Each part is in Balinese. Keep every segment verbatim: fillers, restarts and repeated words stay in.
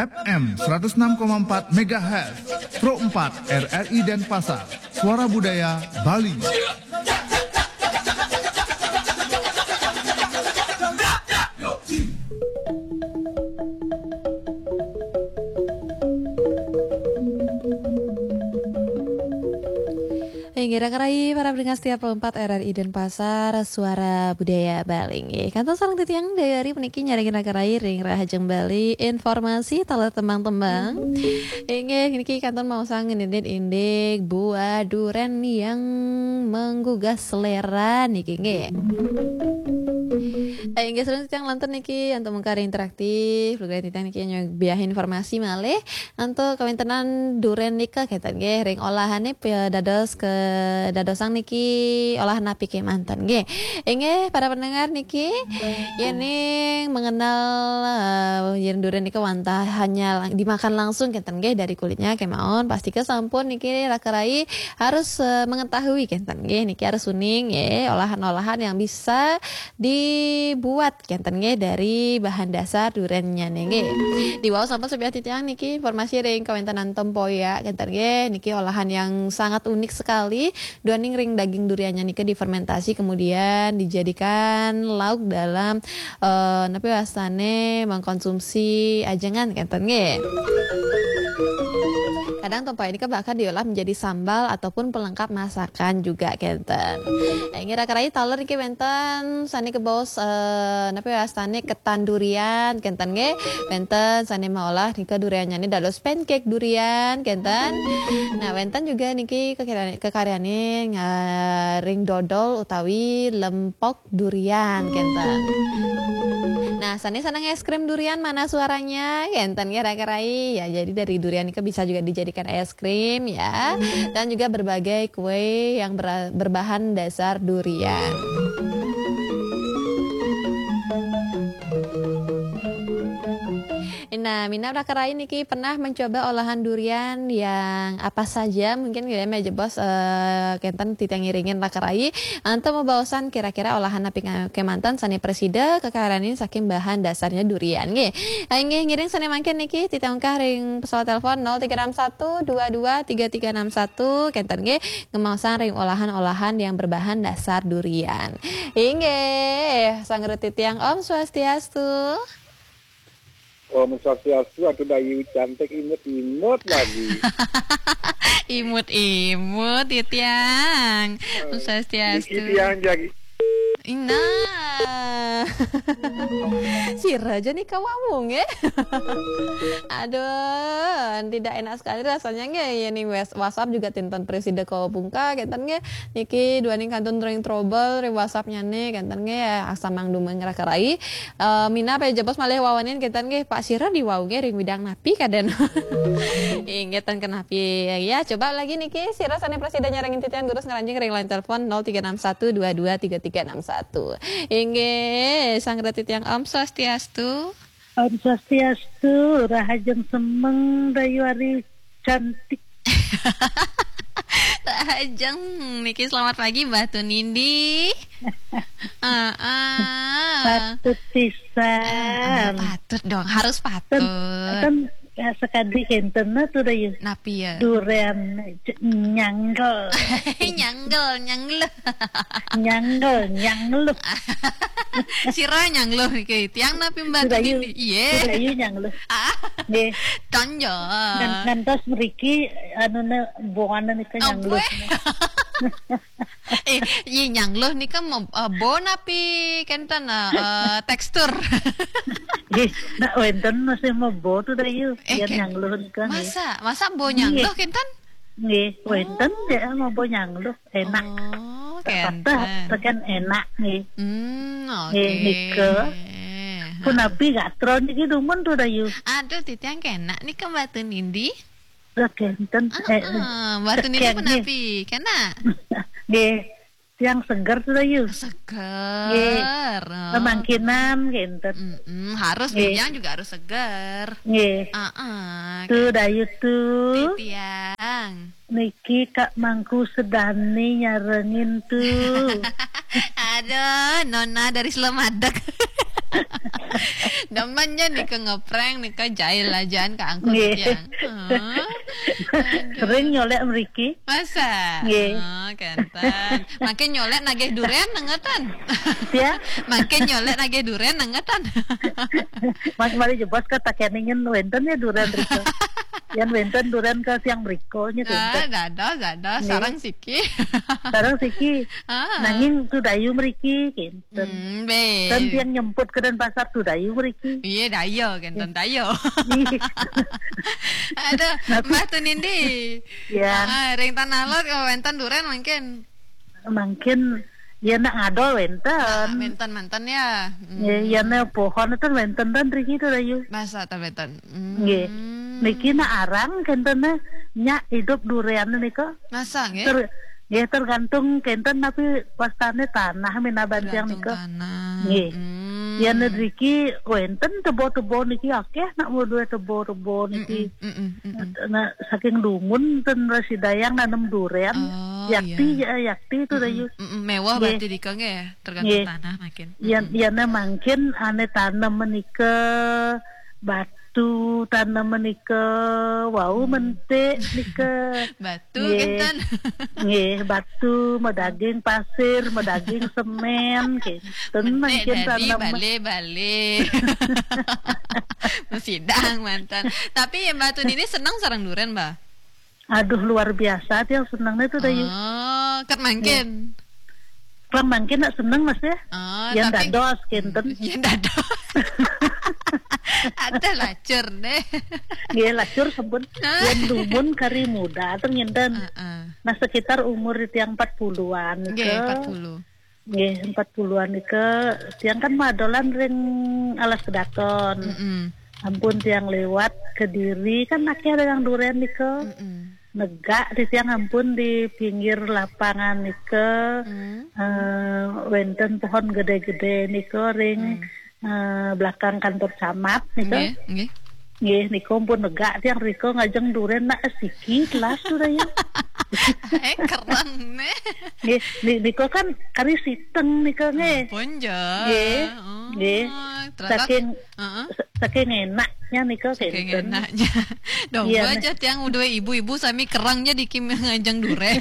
F M seratus enam koma empat megahertz, Pro empat R R I Denpasar, Suara Budaya Bali. Inggih, raka rayi para pendengar setia Pro empat R R I Denpasar, Suara Budaya Bali. Inggih, kantun sareng titiang Dayari puniki nyarengin raka rayi ring Rahajeng Bali, informasi taler tembang-tembang. Inggih, niki kantun maosang ngendit indik buah duren yang menggugah selera niki, nggih. Inggih, sareng titiang lantur niki antuk mengkari interaktif, lugrayang titiang niki nyubiahin informasi malih antuk kawéntenan duren nika kénten nggih, ring olahane pi-, dados ke-, dadosang niki olahan napi kémanten nggih. Inggih, para pendengar niki, yéning mengenal, eh, yén duren nika wantah hanya lang-, dimakan langsung kénten nggih dari kulitnya kémaon, pastika sampun niki raka rayi harus, eh, mengetahui kénten nggih, niki harus uning nggih, olahan-olahan yang bisa dibuat kénten nggih dari bahan dasar durennya nggih. Di wau sampun sepiah titiang niki informasi ring kawéntenan tempoyak kénten nggih, niki olahan yang sangat unik sekali, duaning ring daging duriannya nika difermentasi kemudian dijadikan lauk dalam, eh, napi wastane mengkonsumsi ajengan kénten nggih. Kadang tempoyak nika bahkan diolah menjadi sambal ataupun pelengkap masakan juga kénten. Inggih raka rayi taler niki wénten sane kebaos, eh, napi wastane ketan durian kénten nggih. Wénten sane maolah nika duriannya ni dados pancake durian kénten. Nah, wénten juga niki kekira-, kekaryane nga-, ring dodol utawi lempok durian kénten. Nah, sane seneng es krim durian mana suaranya? Kénten ya raka rayi. Ya, jadi dari durian itu bisa juga dijadikan es krim ya. Dan juga berbagai kue yang ber-, berbahan dasar durian. Nah, minab raka rayi niki pernah mencoba olahan durian yang apa saja? Mungkin ya jebos, eh, kénten titiang ngiringin raka rayi antuk mabaosan kira-kira olahan napi nga-, kémanten sane prasida kakaryanin saking bahan dasarnya durian nggih. Inggih ngiring sane mangkin niki titiang ungkah ring pesawat telepon nol tiga enam satu dua dua tiga tiga enam satu kénten nggih, ngemaosang ring olahan-olahan yang berbahan dasar durian. Inggih, sanggra titiang Om Swastiastu. Om Swastiastu, atuh Dayu cantik imut-imut lagi. Imut-imut titiang. Om Swastiastu. Niki tiang jagi. Nah. Sira aja nih kawawung ya. Aduh, tidak enak sekali rasanya nggih. Ya nih wes-, WhatsApp juga tinten presida kawa bungka kénten nggih. Niki duaning kantun ring trouble ring WhatsApp-nya nih kénten nggih ya. Asa mangdumeng raka rayi. Eh, minab jebos malih wawanin kénten nggih, Pak sira di wau nggih ring widang napi kaden. Inggih ten kenapi. Ya, coba lagi niki sira sane prasida nyarengin titiang durus ngranjing ring line telepon nol tiga enam satu dua dua tiga tiga enam satu. Inggih, sanggra titiang Om Swastiastu. Om Swastiastu, Rahajeng Semeng, Dayu Ari cantik. Rahajeng niki selamat pagi Mbah Tunindi. Heeh. Patut pisan. Patut dong, harus patut. Kan ya, sekadi kénten tuh Dayu. Napi ya? Duren nyanggel. Nyanggel, nyanggel. Nyanggel, nyanggel. Sira nyanggel niki. Tiang napi Mbah Dayu. Tunindi? Iya. Dayu nyanggel. Ah, Nggih. Tonjol. Ngan-, ngantos mriki anune boane nika nyanggel. Ampun. Eh, iya nyanggel nika mo-, eh, bo napi kénten, eh, eh, tekstur. Nggih, nak wénten masih mebo tuh Dayu. Eh, Yen kén- nyanggel nika nggih. Masa, masa bo nyanggel kénten? Nggih, wénten ya mebo nyanggel enak. Oh, Teteh kénten. tekan enak nggih. Hmm, oke. Nggih, nika. Punapi gatra niki dumun tuh Dayu. Aduh, titiang kénak nika Mbah Tunindi. Lah kénten. Eh, Ah, Mbah Tunindi sekian punapi? Kénak? Nggih. Tiang seger tuh Dayu. Seger. Oh. Pemangkinan kénten. Mm-mm, harus Nggih. titiang juga harus seger. Nggih. Heeh. Tuh Dayu tuh. Titiang. Niki Kak Mangku Sedani nyarengin tuh. Aduh, Nona dari Slemadeg. Demen ja nika ngeprank nika, jail ajaan kaangkut. Nggih. Tiang. Hah? Aduh. Sering nyolek mriki. Masa? Nggih. Oh, kenten. Mangkin nyolek nagih duren nengetan. Ya. Mangkin nyolek nagih duren nengetan. Mas mari jebos ke takeningen wenten ya duren rika. Yang wenten duren ke siang beriko nya. Ah, wenten. Dados, dados. Nggih. Sarang siki. Sarang siki. Ah. Nanging tu dayu mriki, kenten. Hmm, be. Dan tiang nyemput ke Denpasar tu dayu mriki. Iya, dayo, kenten dayo. Iya. Aduh, Mbah Tunindi. Ya. Ah, ring Tanah Lot kalau wenten duren mangkin. Mangkin ya nak ngadol wenten. Ah, wenten, wenten ya. Hmm. Ya, ya ne pohon itu wenten dan riki tu dayu. Masa ta wenten. Hmm. Nggih. Niki nak arang kenten ne nyak hidup duren nika. Masa nggih? Ter-, nggih, tergantung kenten napi wastane tanah minaban tiang. Tergantung nika. Tanah. Nggih. Hmm. Ya ne riki wenten tebo-tebo niki akeh nak mau duwe tebo-tebo niki. Mm-mm, mm-mm, mm-mm. Nah, saking dumun ten rasi dayang nanem duren. Oh, yakti iya. Ya, yakti tu dayu. Mm-mm, mewah. Nggih. Berarti dika nggih, tergantung. Nggih. Tanah makin. Yan, mm-mm. Yan mangkin ane tanem menika batu, tanem menika wau. Mm. Mentik nika. Batu. Nggih. Kenten. Nggih, batu, medaging pasir, medaging semen, kenten. Mentik mangkin dari tanem. Bale-bale. Mesidang mantan. Tapi ya Mbah Tunindi seneng sareng duren, Mbah? Aduh, luar biasa tiang senengnya tu dayu. Oh, ket mangkin. Nggih. Pang mangkin nak seneng, Mas, ya. Oh, yang tapi dados kenten. Yang dados. Ada lacur deh. Nggih, lacur sampun. Ah. Yang dumun kari muda tu ngenten. Heeh. Nah, sekitar umur tiang empat puluhan. Nggih, ke empat puluh. Nggih, empat puluhan nika tiang kan madolan ring Alas Kedaton. Mm-mm. Ampun tiang lewat Kediri kan akeh dagang duren nika. Mm-mm. Negak di tiang ampun di pinggir lapangan nika. Mm. Eh, wenten pohon gede-gede nika ring, mm, eh, belakang kantor camat nika. Nggih, nggih. Nggih, nika pun negak tiang rika ngajeng duren nak siki telas tu dayu. Eh, kereng neh. Nggih, ni-, nika kan kari siteng nika nggih. Ampun ja. Nggih. Oh, nggih. Ternyata. Saking, heeh, sa-, saking enaknya nika. Saking kenten. Enaknya. Dong. Iya, aja tiang udah ibu-ibu sami kereng ja di kim ngajeng duren.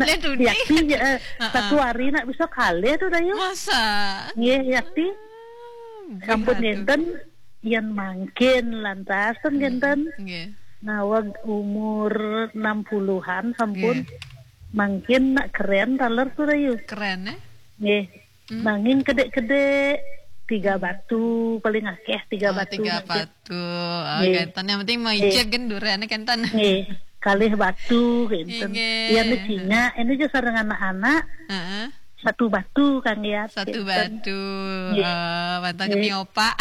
Lihat tu. Yakti, eh, heeh, satu hari nak bisa kalih tu dayu. Masa? Nggih, yakti. Hmm, sampun benar tu. Ngenten, yan mangkin lantas ten. Hmm, ngenten. Nggih. Nawag umur enam puluhan sampun. Nggih. Mangkin nak keren taler tu dayu. Keren, eh? Nggih. Hmm. Nanging kedek-kedek tiga batu paling akeh, tiga batu. Oh, tiga mangkin. Batu. Oh, nggih. Kenten. Yang penting mau icip kan duren kenten. Nggih. Kalih batu kenten. Nggih. Yan Cina, ini je sareng anak-anak. Heeh. Satu batu, Kang Yat. Satu batu. Nggih. Eh, mantan. Nggih. Keni opak.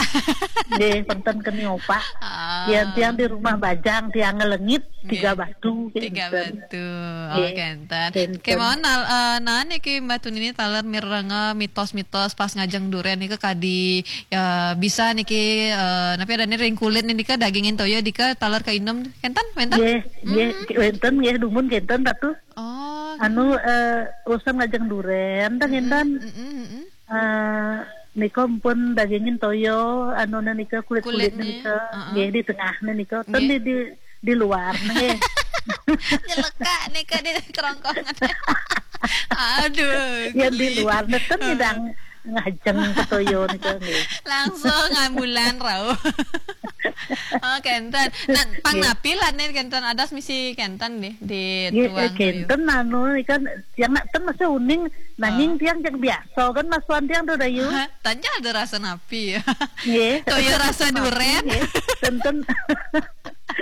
Nggih, mantan keni opak. Ah. Yang tiang di rumah bajang, tiang ngelengit, nggih, tiga batu, tiga kenten. Batu. Oh, nggih. Kenten. Kenten. Kemauan nal-, eh, nah niki Mbah Tunindi taler mirenga mitos-mitos pas ngajeng duren nika kadi, ya, bisa niki, eh, napi adane ring kulit nika dagingin toya dika taler kainem. Kenten, wenten? Nggih, nggih, hmm, wenten nggih dumun kenten Ratu. Oh, anu, eh, urusan ngajeng duren, tah, mm-mm, ngenten. Mm-mm, mm-mm. Eh, nika pun dagingin toya, anu nika kulit-kulitnya. Kulitnya, nika, heeh, nggih, di tengahnya nika. Ten, nggih, di, di, di luar nggih. Nyelekak nika di kerongkongan. Aduh, yang di geli. Luar ten, heeh, nyidang ngajeng ketoya nika nggih. Langsung ambulan rauh. Oh, kenten. Nah, pang, nggih, napi lah nih kenten ada misi kenten deh di, nggih, tuang eh, kenten anu kan yang nak ten masih uning nanging, oh, tiang yang biasa kan masuan tiang tu dayu. Hah, tanya ada rasa napi ya. Nggih. Toya rasa napi, duren. Nggih. Ten, ten,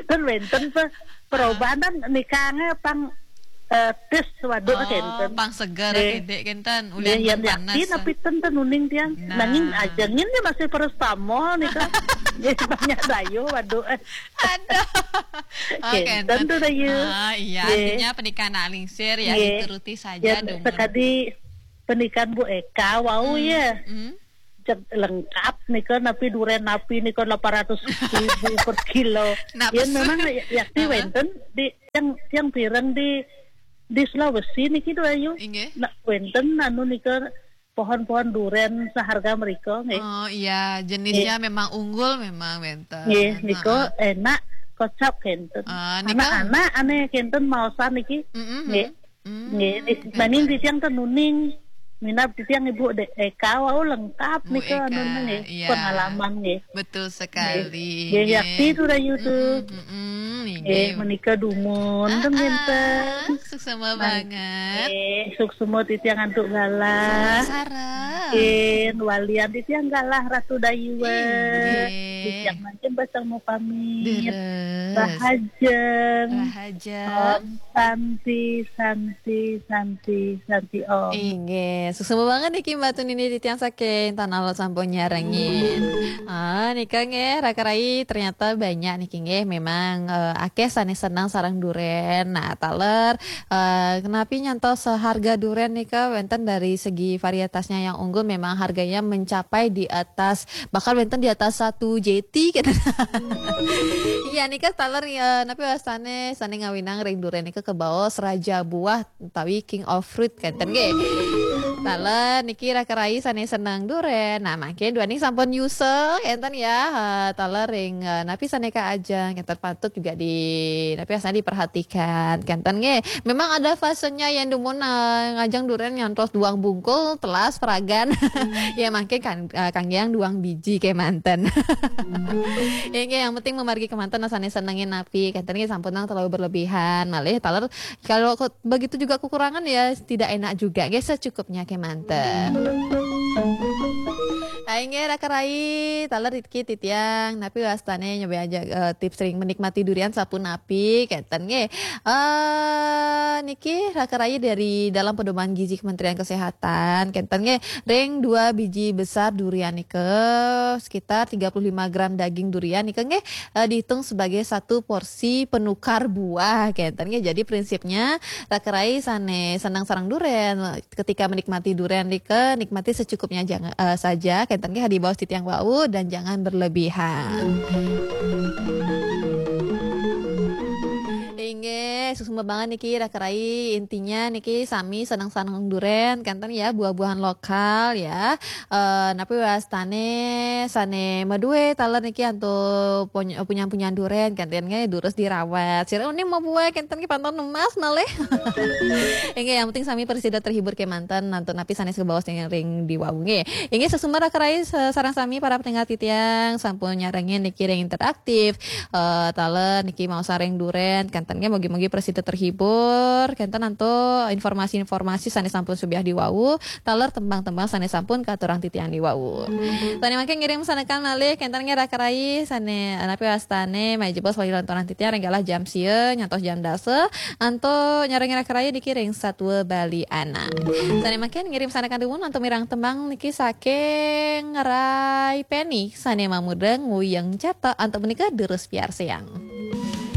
ten wenten pe-, perubahan nikahnya pang eh, tes waduk. Oh, kenten. Pang seger, nggih, kedek kenten. Nggih, ulian yang panas, yakti ah. Napi ten ten uning tiang. Nah. Nanging ajengin ni masih paracetamol nika. Nggih, banyak dayu waduk. Aduh. Oh, kenten. Kenten tu dayu. Ah, iya, nggih, artinya pernikahan nak lingsir ya, nggih, dituruti saja. Yang dong. Sekali pernikahan Bu Eka, wau, hmm, ya. Hmm. Cek lengkap nika napi duren napi nika lapan ratus ribu per kilo. Nak ya pesu. Memang ya, yakti, heeh, wenten di yang, yang pirang di, di Sulawesi niki tu ayu. Inggih. Nak wenten anu nika pohon-pohon duren seharga mereka, nggih. Oh iya, jenisnya memang unggul memang wenten. Nggih, nika enak, kocap kenten. Ah, nika- Anak-anak ane kenten maosan niki. Mm-mm. Nggih. Mm. Nggih, nis- maning titiang tenuning. Minab titiang Ibu Dek Eka wau lengkap Bu nika Eka, anuna nggih. Iya. Pengalaman nggih. Betul sekali. Nggih, yakti tu dayu tu. Mm-mm, Nggih, menika dumun ten Ah, ngenten. Suksma banget. Nggih, suksma titiang antuk galah. Sarah. Nggih, walian titiang galah Ratu Dayuwe. Nggih. Titiang mangkin basang mau pamit. Deres. Rahajeng. Rahajeng. Om Santi, Santi, Santi, Santi Om. Inggih, suksma banget niki Mbak Tunini titiang saking Tanah Lot sampun nyarengin. Ah, nika nggih raka rai ternyata banyak niki nggih memang eh, akeh sane senang sarang duren. Nah, taler eh, kenapi nyantos harga duren nika wenten dari segi varietasnya yang unggul memang harganya mencapai di atas bahkan wenten di atas satu J T gitu. Iya nika taler ya napi wastane sane ngawinang ring duren nika kebaos raja buah utawi king of fruit kenten nggih. Taler niki raka rai sane seneng duren. Nah, mangke duaning sampun nyusul kenten ya. Eh, taler ring eh, napi sane ka ajeng kenten patut juga di napi sane diperhatikan kenten nggih. Memang ada fasenya yang dumun eh, ngajeng duren nyantos duang bungkul telas peragan. Ya mangke kan eh, kangge yang duang biji kemanten. Ya nggih, yang penting memargi kemanten sane senengin napi kenten nggih sampun nang terlalu berlebihan. Malih taler kalau ke- begitu juga kekurangan ya tidak enak juga. Nggih secukupnya kemanten. Ayo nggih raka rai, taler iki titiang napi wastane nyoba aja eh, tips ring menikmati durian sapunapi kenten nggih. Eh niki raka rai dari dalam pedoman gizi Kementerian Kesehatan kenten nggih ring dua biji besar durian nika sekitar tiga puluh lima gram daging durian nika nggih eh, dihitung sebagai satu porsi penukar buah kenten nggih. Jadi prinsipnya raka rai sane senang sarang duren ketika menikmati duren nika nikmati secukupnya jangan eh, saja kenten nggih di bawah titiang wau dan jangan berlebihan. Inggih, suksma banget niki raka rai. Intinya niki sami senang-senang duren kenten ya buah-buahan lokal ya. Eh napi wastane sane madue taler niki antuk punya punya duren kenten nggih durus dirawat. Sira ini mau buah kenten nggih pantun emas malih. Inggih yang penting sami presida terhibur kemanten antuk napi sane sebawas ring di wau nggih. Inggih suksma raka rai se- sarang sami para pendengar titiang sampun nyarengin niki ring interaktif. Eh, taler niki mau sareng duren kenten nggih mugi-mugi presida terhibur kenten antuk informasi-informasi sane sampun subiah di wau taler tembang-tembang sane sampun katurang titiang di wau. Sane mangke ngirim sanekan malih kenten nggih raka rai sane napi wastane mai jebos wali lontonan titiang ring galah jam sia nyantos jam dasa antuk nyarengin raka rai niki ring Satua Bali Anak. Sane mangke ngirim sanekan dumun antuk mireng tembang niki saking Rai Penny sane mamurda Nguyeng Cata antuk menika durus piarsayang.